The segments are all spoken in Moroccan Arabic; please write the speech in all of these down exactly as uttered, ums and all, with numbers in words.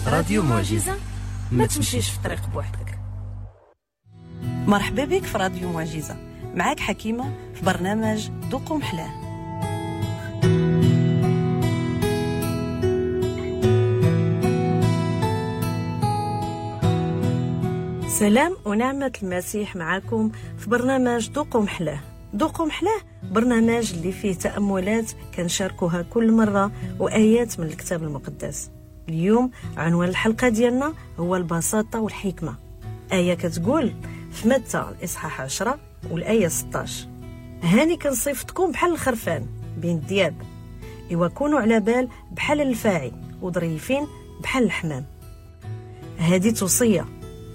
راديو معجزة، ما تمشيش في طريق بوحدك. مرحبا بك في راديو معجزة، معاك حكيمة في برنامج ذوقوا محلاه. سلام ونعمة المسيح معاكم في برنامج ذوقوا محلاه. ذوقوا محلاه برنامج اللي فيه تأملات كنشاركوها كل مرة وآيات من الكتاب المقدس. اليوم عنوان الحلقة ديالنا هو البساطة والحكمة. آية كتقول في متى الإصحاح عشرة والآية ستاش: هاني كنصيفطكم بحال الخرفان بين الدياب، إوا كونوا على بال بحال الفاعي وظريفين بحال الحمام. هذه توصية،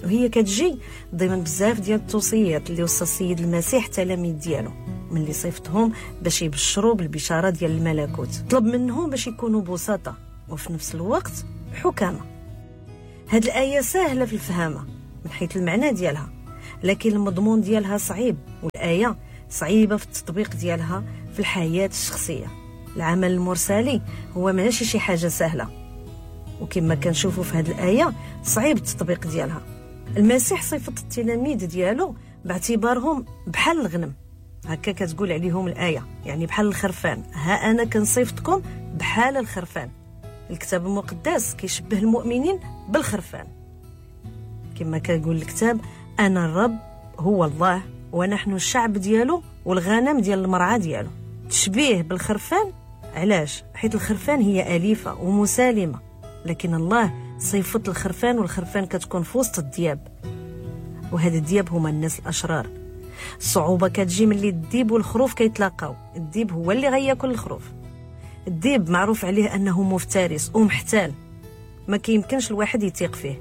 وهي كتجي ضمن بزاف ديال التوصيات اللي وصى السيد المسيح التلاميذ ديالو ملي صيفطهم باش يبشروا بالبشارة ديال الملكوت. طلب منهم باش يكونوا بساطة وفي نفس الوقت حكامة. هاد الآية سهلة في الفهامة من حيث المعنى ديالها، لكن المضمون ديالها صعيب، والآية صعيبة في التطبيق ديالها في الحياة الشخصية. العمل المرسالي هو ماشي شي حاجة سهلة، وكما كنشوفوا في هاد الآية صعيب التطبيق ديالها. المسيح صفت التلاميذ ديالو باعتبارهم بحال الغنم، هكا كتقول عليهم الآية، يعني بحال الخرفان. ها أنا كنصيفطكم بحال الخرفان. الكتاب المقدس كيشبه المؤمنين بالخرفان، كما كيقول الكتاب: أنا الرب هو الله ونحن الشعب ديالو والغنم ديال المرعى ديالو. تشبيه بالخرفان علاش؟ حيت الخرفان هي أليفة ومسالمة، لكن الله صيفط الخرفان، والخرفان كتكون في وسط الدياب، وهاد الدياب هما الناس الأشرار. الصعوبة كتجي ملي الديب والخروف كيتلاقاو. الديب هو اللي غياكل الخروف. الديب معروف عليه أنه مفترس ومحتال، ما كيمكنش الواحد يثيق فيه،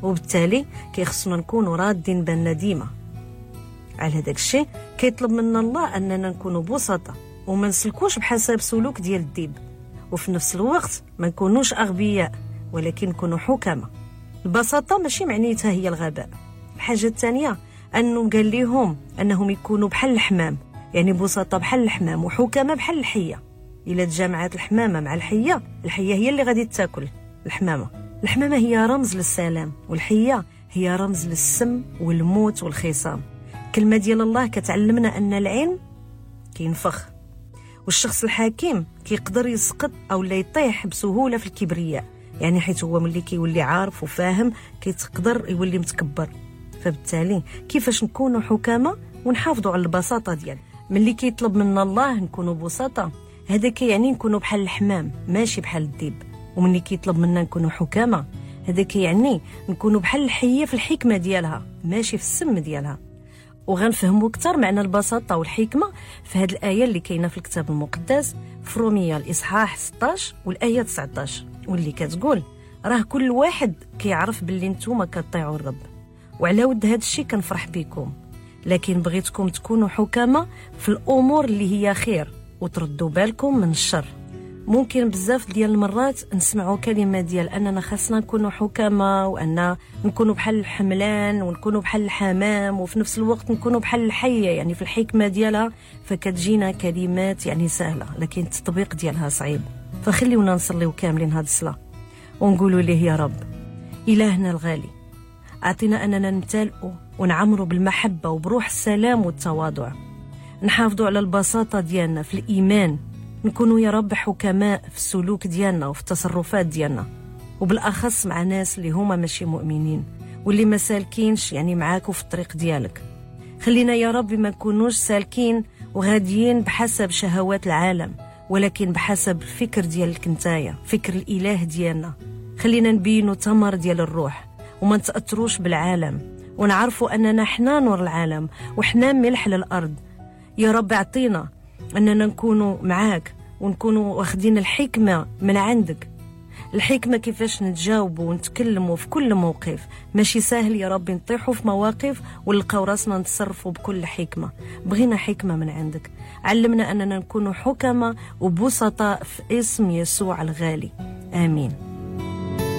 وبالتالي كيخصنا نكونوا رادين بالنا ديما. على هذاك الشيء كيطلب منا الله أننا نكونوا بسطاء وما نسلكوش بحسب سلوك ديال الديب، وفي نفس الوقت ما نكونوش أغبياء ولكن نكونوا حكماء. البساطة ماشي معنيتها هي الغباء. الحاجة الثانية أنه قال لهم أنهم يكونوا بحال الحمام، يعني بساطة بحال الحمام وحكماء بحال الحية. إلا تجمعات الحمامة مع الحية، الحية هي اللي غادي تاكل الحمامة. الحمامة هي رمز للسلام، والحية هي رمز للسم والموت والخصام. كلمة ديال الله كتعلمنا أن العلم كينفخ، والشخص الحكيم كيقدر يسقط أو لا يطيح بسهولة في الكبرياء، يعني حيث هو ملي كيولي عارف وفاهم كيتقدر يولي متكبر. فبالتالي كيفاش نكونوا حكامة ونحافظوا على البساطة ديال ملي كيطلب منا الله نكونوا بساطة، هذا كيعني نكونوا بحال الحمام ماشي بحال الديب. وملي كيطلب منا نكونوا حكامة، هذا كيعني نكونوا بحال الحية في الحكمة ديالها ماشي في السم ديالها. وغنفهموا اكثر معنى البساطة والحكمة في هذه الآية اللي كاينة في الكتاب المقدس في رومية الإصحاح ستاش والآية تسعطاش، واللي كتقول: راه كل واحد كيعرف باللي نتوما كطيعوا الرب، وعلى ود هذا الشيء كنفرح بكم، لكن بغيتكم تكونوا حكامة في الأمور اللي هي خير وتردوا بالكم من الشر. ممكن بزاف ديال المرات نسمعوا كلمة ديال أننا خاصنا نكونوا حكامة، وأن نكونوا بحال الحملان ونكونوا بحال الحمام، وفي نفس الوقت نكونوا بحال الحية، يعني في الحكمة ديالها. فكتجينا كلمات يعني سهلة لكن التطبيق ديالها صعيب. فخليونا نصليو كاملين هاد الصلاة ونقولوا ليه: يا رب إلهنا الغالي، أعطينا أننا نمتلئوا ونعمروا بالمحبة وبروح السلام والتواضع، نحافظوا على البساطة ديالنا في الإيمان، نكونوا يا رب حكماء في السلوك ديالنا وفي التصرفات ديالنا، وبالأخص مع ناس اللي هما ماشي مؤمنين واللي ما سالكينش يعني معاك وفي الطريق ديالك. خلينا يا رب ما نكونوش سالكين وغاديين بحسب شهوات العالم، ولكن بحسب الفكر ديالك نتايا، فكر الإله ديالنا. خلينا نبينوا ثمر ديال الروح وما نتأثروش بالعالم، ونعرفوا أننا حنا نور العالم وحنا ملح للأرض. يا رب اعطينا أننا نكونوا معاك ونكونوا واخدين الحكمة من عندك، الحكمة كيفاش نتجاوبوا ونتكلموا في كل موقف. ماشي سهل يا رب نطيحوا في مواقف ونلقاو راسنا نتصرفوا بكل حكمة. بغينا حكمة من عندك، علمنا أننا نكونوا حكمة وبسطاء في اسم يسوع الغالي، آمين.